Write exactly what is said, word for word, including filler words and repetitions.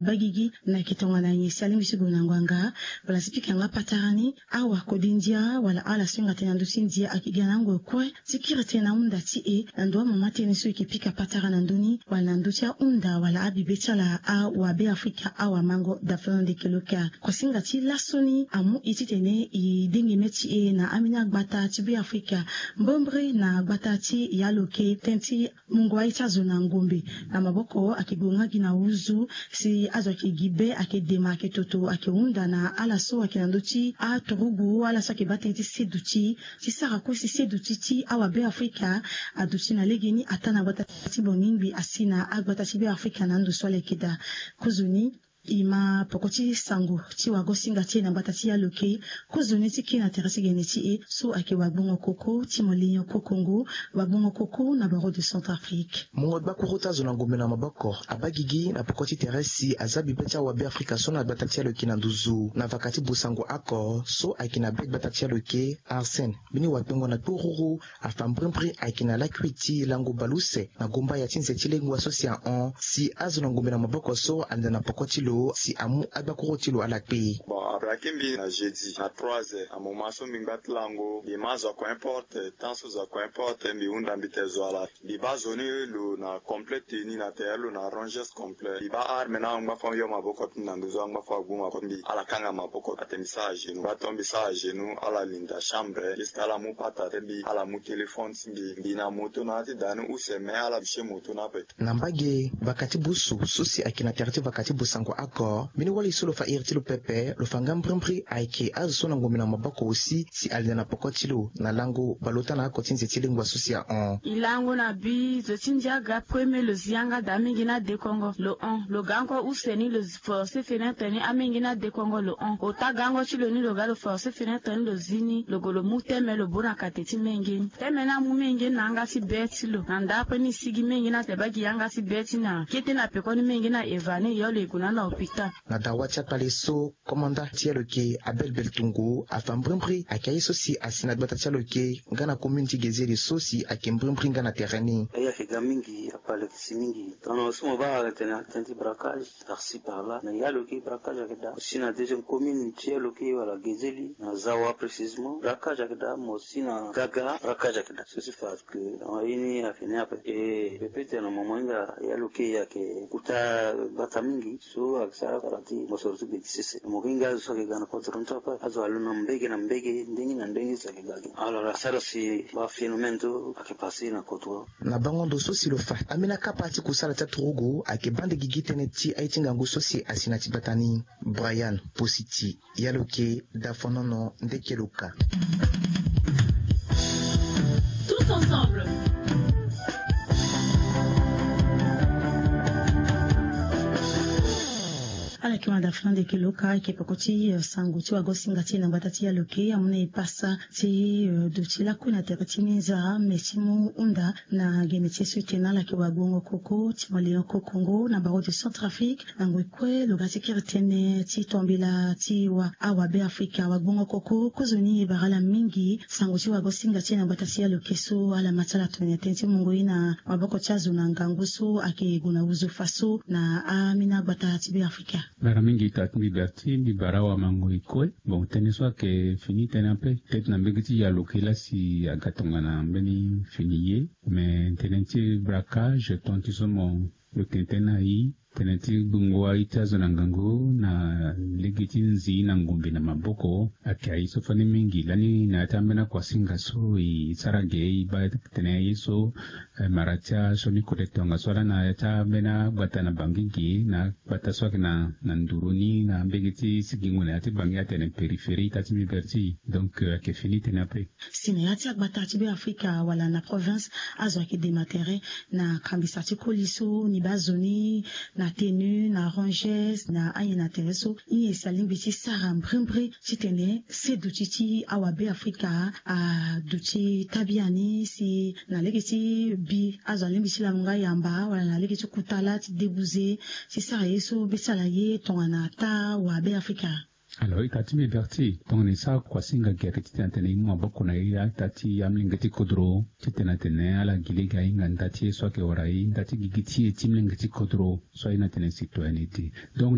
Bagigi na yeke tongana nyen si alingbi ti gue na ngbanga wala si pika nga patara ni. Awa kode ndia wala ala so hinga tënë na ndö ti ndia ayeke ga na angoi kue ti kiri tënë na ahunda ti e na ndo amama tënë so e yeke pika patara na ndö ni wala na ndö ti ahunda wala abibe ti ala awabe afrika awamango. Dafana ndeke loka kuasinga ti laso ni amu e titene e dengeme ti e na ambeni agbata ti be afrika mbrembre na agbata ti yaloke tënë ti mungo aye ti azo na ngombe na maboko ayeke gue nga gi na huzu si azo ayeke gi be ayeke dema ayeke toto ayeke hunda na ala so ayeke na ndö ti aturugu ala so ayeke baa tënë ti seduti ti sara kue si seduti ti awabe afrika aduti na legeni ataa na gbata ti bongingbi asi na agbata ti be afrika na ando so ala yeke daa. Kozoni e ma poko ti sango ti wagosinga ti e na gbata ti yaloke kozoni ti kiri na tere ti gene ti e so ayeke wagbongo koko ti molinion kokongo wagbongo koko na baro de centrafrique. Mungo gbakuru ti azo na ngombe na maboko abagigi na poko ti tere si aza bibe ti awabe afrika so na gbata ti yaloke na nduzu na vaka ti busango ako so ayeke na be gbata ti yaloke arsène mbeni wakpengo na kpururu afa mbrimbri ayeke na lakui ti lango baleuse na gomba ya ti nze ti lengua so si ahon si azo na ngombe na maboko so alenda na poko ti lo si amu agbakuru ti lo ala kpe. Bon abraki mbi na jeudi na trois heures amoma so mbi ngba ti lango mbi ma zo ako importe temps so zo ako importe mbi hunda mbi te zo ala. Mbi baa zo ni lo na complet teni na tere lo na rangers complet mbi baa arme na angba fo yo maboko ti mbi na nduzu angba fo agbu maboko ti mbi ala kanga maboko ate mbi sara genou mba to mbi sara genou ala linda chambre jusque ala mu pata te mbi ala mu téléphone ti mbi mbi na moto na ya ti daa ni use me ala biche moto na ape. Na mbage vaka ti busu so si ayeke na tere ti vaka ti busango ako mbeni wali so lo fa iri ti lo pepe lo fa nga mbrimbri ayeke azo so na ngombe na maboko aussi si alinda na poko ti lo na lango baleota na ako ti nze ti lengua so si ahon. E lango na bi zo ti ndia aga premier lo zi yanga daa mingi ni adekongo lo hon lo ga ngo use ni lo force fenetre ni amingi ni adekongo lo hon ota gango ti lo ni lo ga lo force fenetre ni lo zi ni lo gue lo mu teme lo baa na kate ti menge ni teme ni amu menge ni na yanga ti be ti lo na ndapre ni e sigi menge ni ate baa gi yanga ti be ti na kete na peko ni menge ni aeva ni e yo lo e gue na ni na hôpital. Na dawa ti akpale so komanda ti yaloke abel beltungu afa mbrimbri ayeke aye so si asi na gbata ti yaloke nga na commune ti gezeli so si ayeke mbrimbri nga na tere ni. Aye ayeke ga mingi akpale ayeke si mingi tongana so mo baa ayeke tene atene ti braquage par-ci par-là na yaloke braquage ayeke daa mo si na deuxième commune ti yaloke wala gezeli na zawa précisement braquage ayeke daa mo si na gaga braquage ayeke daa so si fa que aye ni ayeke ni ape e pepe tene na moment hinga yaloke ayeke kota gbata mingi so ayeke sara kara ti mosoro ti gbe ti sese mo hinga azo so ayeke ga na kodro ni so ape azo alo na mbege na mbege ndenge na ndenge so ayeke ga gi alors asara si baphénomène so ayeke passe na kodro. Na bango ndo so si lo fa ambeni akapa ti kusala ti aturugu ayeke bande gigi tënë ti aye ti ngangu so si asi na ti gbata ni. Brian positi yaloke dafonono ndeke lo ka. Tous ensemble. Ala yeke manda fana ndeke lo ka ayeke peko ti sango ti wagosinga ti e na gbata ti yaloke amu na e pasa ti duti lakue na tere ti minza me ti mu hunda na gene ti e so e tene ala yeke wagbongo koko ti malion kokongo na baro de centrafrique. Na ngoi kue lo ga ti kiri tënë ti tombela ti wa awabe afrika wagbongo koko kozoni e bara ala mingi sango ti wagosinga ti e na gbata ti yaloke so ala ma ti ala tongana tënë ti mungo ye na maboko ti azo na ngangu so ayeke gue na wuzu faso na amina gbata ti be afrika. Bara mingi ta ti mbi berti mbi bara awamango e kue. Bon tënë so ayeke fini tënë ape tete na mbege ti yaloke lasi aga tongana mbeni fini ye. Me tënë ti braquage ton ti so mo lo tene tënë na i tënë ti gbungo aye ti azo na ngangu na lege ti nzi na ngombe na maboko. Ayeke aye so fani mingi lani na ya ti ambeni akuasinga so e sara ge e baa tene aye so mara ti asioni kode tongaso ala na ya ti ambeni agbata na bangi ge na agbata so ayeke na nduru ni na mbege ti sigingo na ya ti bangi atene périphérie ka ti mbi berti. Donc ayeke fini tënë ape. Si na ya ti agbata ti be afrika wala na province azo ayeke dema tere na kambisa ti koli so ni baa zo ni na tenu na rangers na anyen na tere so. Ye si alingbi ti sara mbrimbri titene seduti ti awabe afrika aduti tabia ni si na lege ti bi azo alingbi ti lamu nga yamba wala na lege ti kuta laa ti debuze ti sara ye so be ti ala ye tongana taa wa be afrika. Alors ita ti mbi berti tongana e sara kuasinga gere titene atene e mu maboko na e ita ti amolenge ti kodro titene atene ala gi lege ahinga nda ti e so ayeke wara e nda ti gigi ti e ti molenge ti kodro so aye na tene citoyenneté. Donc